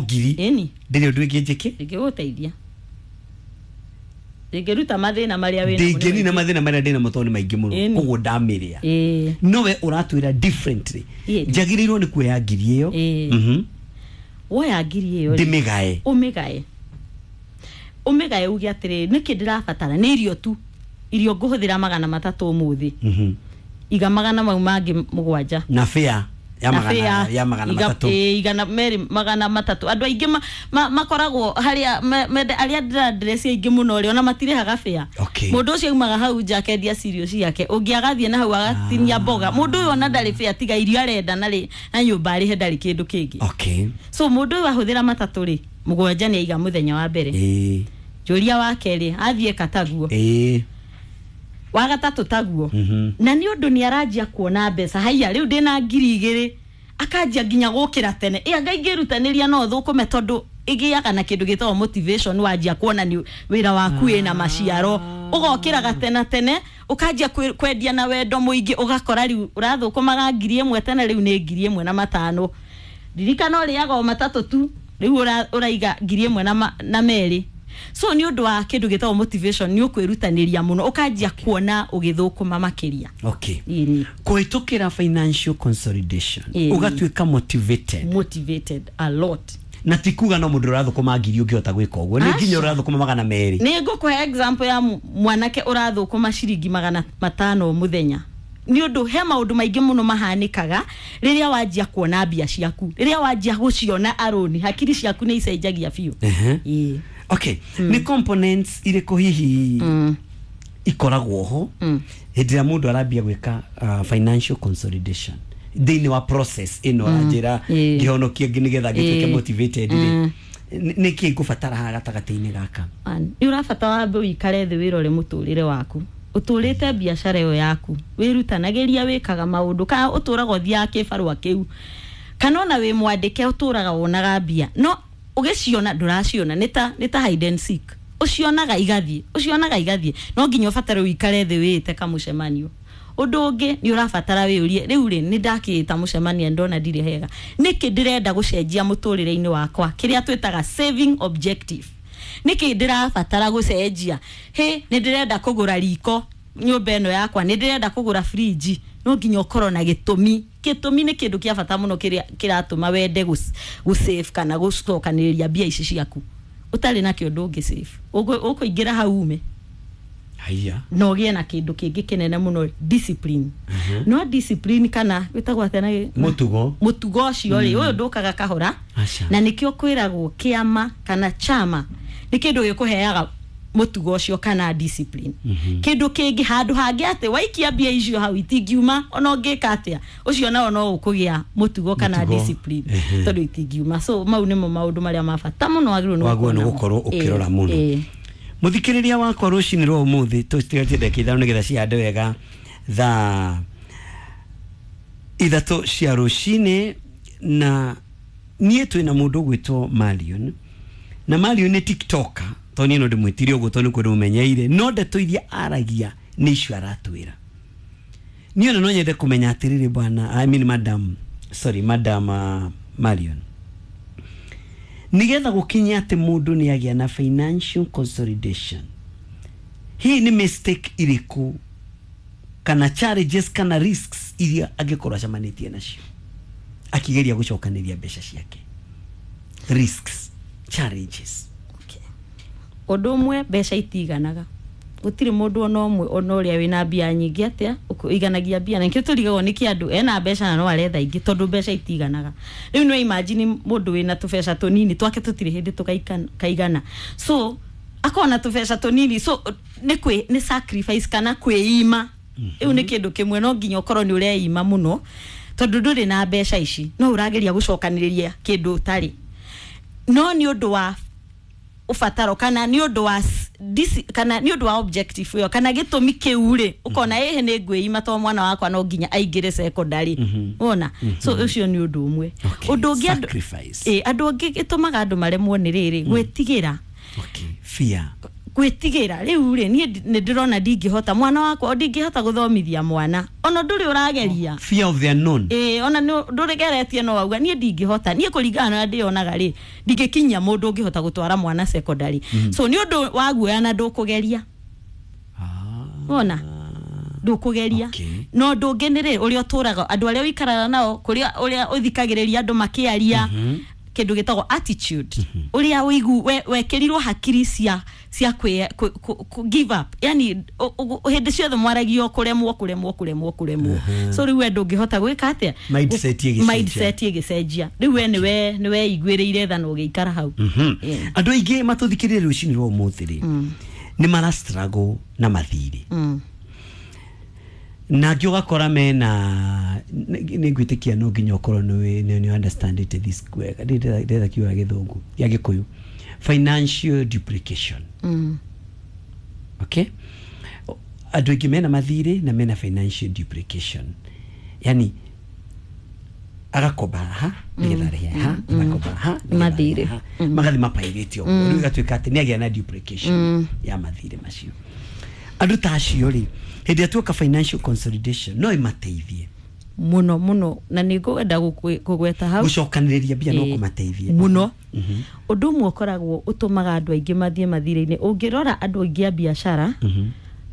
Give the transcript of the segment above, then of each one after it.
Ngiri Ĩni. Ndĩrĩ ũndũ ĩngĩ njĩke. Ndĩngĩgũteithia, ndĩngĩruta mathĩna marĩa wĩ namo nĩ Ndĩngĩnina maingĩ. Mathĩna marĩa ndĩna mo tondũ nĩ maingĩ mũno. Ĩni. Koguo ndamĩrĩa. Nowe ũratwĩra differently. Njagĩrĩirwo nĩ kuoya ngiri ĩyo. Woya ngiri ĩyo rĩ, Ndĩmĩgae. Ũmĩgae, ũmĩgae, uge atĩrĩrĩ, nĩkĩ ndĩrabatara? Nĩ irio tu, irio ngũhũthĩra 300 ũmũthĩ. Iga magana mau mangĩ mũgwanja. Na fare ya Na magana fare ya magana matatũ. Ĩĩ, 230. Andũ aingĩ makoragwo harĩa arĩa ndĩrandresi aingĩ mũno rĩ, ona matirĩhaga fare. Mũndũ ũcio aumaga hau nja akendia cirio ciake, ũngĩ agathiĩ na hau agatinia mboga. Mũndũ ũyũ ona ndarĩ fare, tiga irio arenda na rĩ na nyũmba arĩhe, ndarĩ kĩndũ kĩngĩ. So mũndũ ũyũ ahũthĩra matatũ rĩ, mũgwanja nĩ aiga mũthenya wa mbere. Njũria wa kerĩ athiĩ kataguo. Wa gatatũ taguo. Na nĩ ũndũ nĩ aranjia kuona mbeca, haiya, rĩu ndĩna 2000, akanjia nginya gũkĩra tene, ĩ anga ingĩrutanĩria no thũkũme, tondũ ĩgĩaga na kĩndũ gĩtagwo motivation. Wanjia kuona nĩ wĩra waku wĩna maciaro, ũgokĩra gatena tene, ũkanjia kwendia na wendo mũingĩ, ũgakora rĩu ũrathũkũmaga 1000 tene, rĩu nĩ 1500. Ririkana ũrĩaga o matatũ tu, rĩu ũraiga 1000 na merĩ. So nĩ ũndũ wa kĩndũ gĩtagwo motivation, nĩ ũkwĩrutanĩria mũno, ũkanjia kuona ũgĩthũkũma makĩria. Ĩni. Kũhĩtũkĩra financial consolidation, ũgatuĩka motivated. Motivated a lot. Na ti kuga no mũndũ ũrathũkũma ngiri ũngĩhota gwĩka ũguo, nĩ nginya Aca. ũrathũkũma 200. Nĩ ngũkũhe example ya mwanake ũrathũkũma ciringi 500 mũthenya, nĩ ũndũ he maũndũ maingĩ mũno mahanĩkaga rĩrĩa wanjia kuona mbia ciaku, rĩrĩa wanjia gũciona arũni, hakiri ciaku nĩ icenjagia biũ. Ĩĩ. Okay, nĩ components irĩkũ hihi ikoragwo ho hĩndĩ ĩrĩa mũndũ arambia gwĩka financial consolidation thĩinĩ wa process ĩno ũranjĩra, ngĩhonokie nĩgetha ngĩtuĩke motivated rĩ, nĩ kĩ ngũbatara haha gatagatĩ-inĩ gaka? Nĩ ũrabata wambe ũikare thĩ, wĩrore mũtũrĩre waku, ũtũrĩte biacara ĩyo yaku, wĩrutanagĩria, wĩkaga maũndũ, kana ũtũraga ũthiaga kĩbarũa kĩu, kana ona wĩ mwandĩke ũtũraga wonaga mbia, no ũgĩciona ndũraciona, nĩ ta hide and seek, ũcionaga igathiĩ, ũcionaga igathiĩ. No nginya ũbatare ũikare thĩ, wĩĩte kamũcemanio. Ũndũ ũngĩ nĩ ũrabatara wĩyũrie, rĩu rĩ, nĩ ndakĩĩta mũcemanio, ndona ndirĩ hega, nĩkĩ ndĩrenda gũcenjia mũtũrĩre-inĩ wakwa, kĩrĩa twĩtaga saving objective? Nĩkĩ ndĩrabatara gũcenjia? Hĩ, nĩ ndĩrenda kũgũra riko nyũmba ĩno yakwa, nĩ ndĩrenda kũgũra fridge. No nginya ũkorwo na gĩtũmi. Gĩtũmi nĩ kĩndũ kĩa bata mũno kĩrĩa kĩratũma wende gũ save kana gũcokanĩrĩria mbia ici ciaku. Ũtarĩ nakĩo ndũngĩ save. Ũkũingĩra hau ume. Haiya. Na ũgĩe na kĩndũ kĩngĩ kĩnene mũno, discipline. No discipline kana wĩtagwo atĩa na Mũtugo. Mũtugo ũcio rĩ, ũyũ ndũkaga kahora. Aca. Na nĩkĩo kwĩragwo kĩama kana chama nĩ kĩndũ gĩkũheaga mũtugo ũcio kana discipline. Kĩndũ kĩngĩ, handũ hangĩ atĩ waikia mbia icio hau itingiuma ona ũngĩka atĩa, ũcio nao no ũkũgĩa mũtugo kana Mũtugo. discipline, tondũ itingiuma. So mau nĩmo maũndũ marĩa ma bata mũno wagĩrĩirwo nĩ Wagĩrĩirwo nĩ gũkorwo namo. gũkorwo ũkĩrora mũno. Mũthikĩrĩria wakwa, rũcinĩ rwa ũmũthĩ tũtigatie ndagĩka 5 nĩgetha cihande wega thaa 3 cia rũcinĩ, na niĩ twĩna mũndũ ũgwĩtwo Marion, na Marion nĩ TikToker, tondũ niĩ no ndĩmwĩtire ũguo tondũ nĩkuo ndĩmũmenyeire, no ndeto iria aragia nĩ icio aratwĩra. Niĩ ona no nyende kũmenya atĩrĩrĩ, bwana, I mean madam, sorry, madam Marion, nigetha gũkinya atĩ mũndũ nĩ agĩa na financial consolidation, hihi nĩ mistake irĩkũ kana challenges kana risks iria angĩkorwo acemanĩtie nacio akigeria gũcokanĩria mbeca ciake? Risks, challenges. Okay. Ũndũ ũmwe, mbeca itiganaga. Gũtirĩ mũndũ ona ũmwe, ona ũrĩa wĩna mbia nyingĩ atĩa, ũiganagia mbia, na nĩkĩo tũrigagwo nĩkĩ andũ ena mbeca na no aretha ingĩ, tondũ mbeca itiganaga. Rĩu no imagine mũndũ wĩna tũbeca tũnini twake, tũtirĩ hĩndĩ tũkaigana, so akorwo na tũbeca tũnini, so nĩ kwĩ nĩ sacrifice kana kwĩima. Rĩu nĩ kĩndũ kĩmwe, no nginya ũkorwo nĩ ũreima mũno, tondũ ndũrĩ na mbeca ici, no ũrageria gũcokanĩrĩria kĩndũ ũtarĩ. No nĩ ũndũ wa ũbataro kana nĩ ũndũ wa kana nĩ ũndũ wa objective ĩyo kana gĩtũmi kĩu rĩ, ũkona ĩhĩ, nĩ ngwĩima to mwana wakwa no nginya aingĩre secondary, wona. So ũcio nĩ ũndũ ũmwe. Ũndũ ũngĩ Sacrifice. Ĩ, andũ angĩ gĩtũmaga andũ maremwo nĩ rĩrĩ, gwĩtigĩra. Okay, fear. Gwĩtigĩra rĩu rĩ niĩ nĩ ndĩrona ndingĩhota mwana wakwa ndingĩhota gũthomithia mwana ona ndũrĩ ũrageria. Fear of the unknown. Ona ndũrĩgeretie no wauga niĩ ndingĩhota, niĩ kũringana na ndĩonaga rĩ ndingĩkinyia mũndũ ũngĩhota gũtwara mwana secondary. So nĩ ũndũ wa guoya na ndũkũgeria. Wona ndũkũgeria. No ũndũ ũngĩ nĩ rĩ ũrĩa ũtũraga andũ arĩa ũikaraga nao kũrĩa ũrĩa ũthikagĩrĩria andũ makĩaria kĩndũ gĩtagwo attitude ũrĩa ũigu wekĩrirwo hakiri cia give up, yani hĩndĩ ciothe mwaragio kũremwo kũremwo kũremwo kũremwo. So rĩu we ndũngĩhota gwĩka atĩa, mindset ĩgĩcenjia rĩu we nĩwe iguĩrĩire tha na ũgĩikara hau. Andũ aingĩ matũthikĩrĩrie rũcinĩ rwa ũmũthĩ rĩ nĩ mara struggle na mathirĩ na angĩ ũgakora mena nĩ ngwĩtĩkia no nginya ũkorwo nĩ understand it this wega, ndĩretha kiugo gĩa gĩthũngũ gĩa gĩkũyũ, financial duplication. Okay, andũ aingĩ mena mathirĩ na mena financial duplication, yani agakomba haha nĩgetha arĩhe haha, agakomba haha mathirĩ magathi mapairĩte ũguo, rĩu ĩgatuĩka atĩ nĩ agĩa na duplication ya mathirĩ macio. Andũ ta acio rĩ hĩndĩ ĩrĩa tuoka financial consolidation no ĩmateithie mũno mũno, na nĩ ngwenda kũgweta hau gũcokanĩrĩria mbia no kũmateithie mũno. Ũndũ ũmwe ũkoragwo ũtũmaga andũ aingĩ mathiĩ mathirĩ-inĩ, ũngĩrora andũ aingĩ a biacara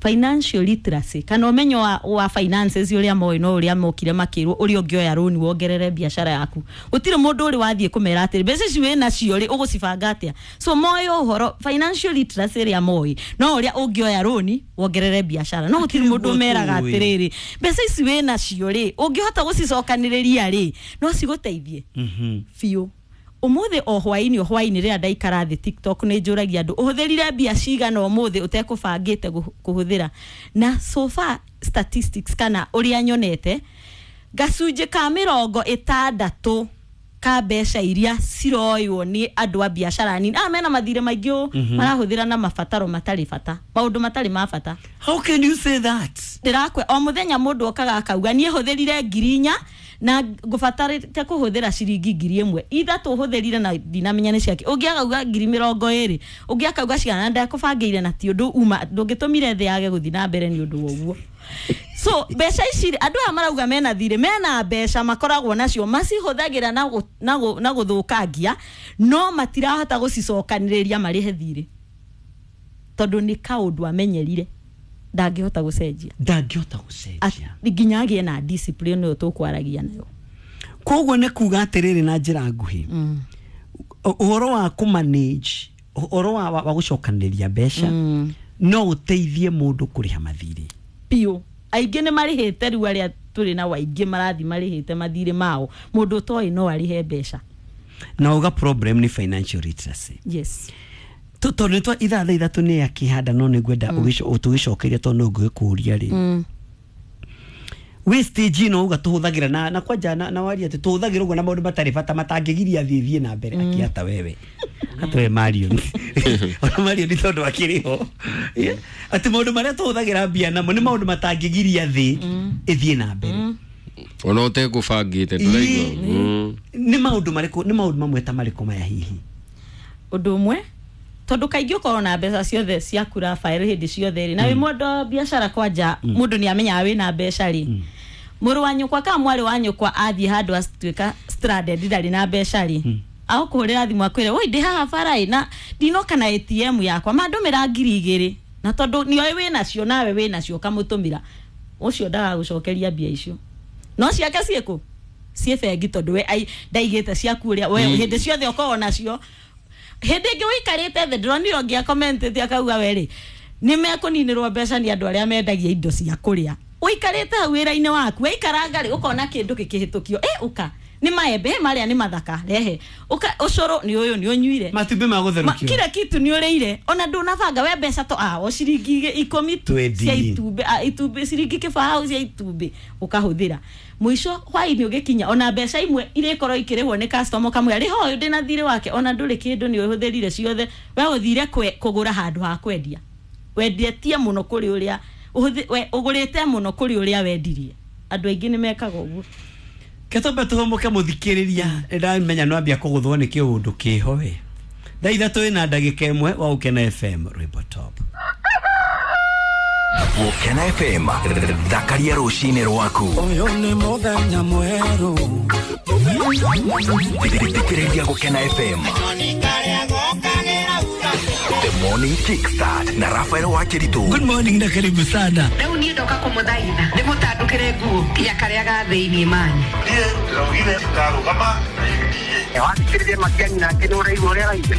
financial literacy kana ũmenyo wa finances ũrĩa moĩ no ũrĩa mokire makĩrwo ũrĩa ũngĩoya rũni wongerere biacara yaku. Gũtirĩ mũndũ ũrĩ wathiĩ kũmera atĩrĩ mbeca ici wĩ nacio rĩ ũgũcibanga atĩa. So moĩ ũhoro financial literacy ĩrĩa moĩ no ũrĩa ũngĩoya rũni wongerere biacara, no gũtirĩ mũndũ ũmeraga atĩrĩrĩ mbeca ici wĩ nacio rĩ ũngĩhota gũcicokanĩrĩria rĩ no cigũteithie biũ. Ũmũthĩ o hwaĩ-inĩ rĩrĩa ndaikara thĩ TikTok nĩ njũragia andũ ũhũthĩrire mbia cigana ũmũthĩ ũtekũbangĩte kũhũthĩra, na so far statistics kana ũrĩa nyonete gacunjĩ ka 60 ka mbeca iria ciroywo nĩ andũ a biacara nini mena mathirĩ maingĩ marahũthĩra na mabataro matarĩ bata, maũndũ matarĩ ma bata. How can you say that? Ndĩrakwe o mũthenya mũndũ okaga akauga niĩ hũthĩrire 4,000 na ngũbatarĩte kũhũthĩra ciringi 1,000 ithatũ hũthĩrire na ndinamenya nĩ ciake, ũngĩ akauga 20,000 ũngĩ akauga cigana na ndakũbangĩire na ti ũndũ uma ndũngĩtũmire thĩ yage gũthiĩ na mbere nĩ ũndũ wa ũguo. So mbeca ici andũ aya marauga mena thirĩ mena mbeca makoragwo nacio macihũthagĩra na gũthũkangia no matirahota gũcicokanĩrĩria marĩhe thirĩ tondũ nĩ kaũndũ amenyerire ndangĩhota gũcenjia, nginya agĩe na discipline ĩyo tũkwaragia nayo. Koguo nĩ kuga atĩrĩrĩ na njĩra nguhĩ ũhoro wa kũmanage ũhoro wa gũcokanĩrĩria mbeca no ũteithie mũndũ kũrĩha mathirĩ biũ. Aingĩ nĩ marĩhĩte rĩu arĩa tũrĩ nao aingĩ marathiĩ marĩhĩte mathirĩ mao, mũndũ ũtoĩ no arĩhe mbeca. Na uga problem nĩ financial literacy. Yes. Tondũ nĩ ithaa thaa ithatũ nĩ akĩhanda no nĩngwenda tũgĩcokeria tondũ no ngũgĩkũria rĩ wĩ stage ĩno uga tũhũthagĩra na kwanja na waria atĩ tũhũthagĩra ũguo na maũndũ matarĩ bata matangĩgiria thiĩ na mbere akĩata wewe hata we Marion ona Marion nĩ tondũ akĩrĩ ho atĩ maũndũ marĩa tũhũthagĩra mbia namo nĩ maũndũ matangĩgiria thĩ ĩthiĩ na mbere ona ũtekũbangĩte ndũraigua. Nĩ maũndũ marĩkũ, nĩ maũndũ mamwe ta marĩkũ maya hihi? Ũndũ ũmwe tondũ kaingĩ ũkorwo na mbeca ciothe ciaku Rafael hĩndĩ ciothe rĩ na wĩ mũndũ wa biacara kwanja mũndũ nĩ amenyaga wĩna mbeca rĩ mũrũ wa nyũkwa kana mwarĩ wa nyũkwa athiĩ handũ atuĩka stranded ndarĩ na mbeca rĩ agũkũhũrĩra thimũ akwĩre woi ndĩ haha bara ĩ na ndinoka na ATM yakwa mandũmĩra 2,000 na tondũ nĩoĩ wĩnacio nawe wĩnacio ũkamũtũmĩra ũcio ndagagũcokeria mbia icio no ciake ciĩkũ ciĩ bengi tondũ we ndaigĩte ciaku ũrĩa we hĩndĩ ciothe ũkorwo nacio. Hĩndĩ ĩngĩ ũikarĩte thĩ ndĩronire ũngĩ akomentĩte akauga we rĩ nĩ mekũninĩrwo mbeca nĩ andũ arĩa mendagia indo cia kũrĩa. Ũikarĩte hau wĩra-inĩ waku waikaranga rĩ ũkona kĩndũ gĩkĩhĩtũkio ũka nĩ maembe marĩa nĩ mathaka rehe ũka ũcũrũ nĩ ũyũ nĩ ũnyuire matumbĩ ma gũtherũkio kila kitu nĩ ũrĩire ona ndũnabanga we mbeca to o ciringi 10 tu cia itumbĩ itumbĩ ciringi 20 cia itumbĩ ũkahũthĩra mũico hwaĩ-inĩ ũgĩkinya ona mbeca imwe irĩkorwo ikĩrĩhwo nĩ customer kamwe rĩho ũyũ ndĩna thirĩ wake ona ndũrĩ kĩndũ nĩ ũhũthĩrire ciothe we ũthire kũgũra handũ ha kwendia wendetie mũno kũrĩ ũrĩa ũgũrĩte mũno kũrĩ ũrĩa wendirie. Andũ aingĩ nĩ mekaga ũguo. Ketombe tuhomoke muthikiriria ndamenya no ambia kuguthwo ni kiundu kiho we Thaa 3 na ndagĩka 1 wa Gũkena FM rwĩmbo top. Gũkena FM, thakaria rũcinĩ rwaku. Ũyũ nĩ mũthenya mwerũ. Thikĩrĩria Gũkena FM. The Morning Kickstart na Rafael Wakiritu. Good morning na karibu sana. Rĩu niĩ ndoka kũmũthaitha ndĩmũtandũkĩre nguo ya karĩa ga thĩiniĩ manyu. Niĩ ndĩraugire ndarũgama na UDA. Wathikĩrĩria Matiang'i nake nĩ ũraigua ũrĩa araigua.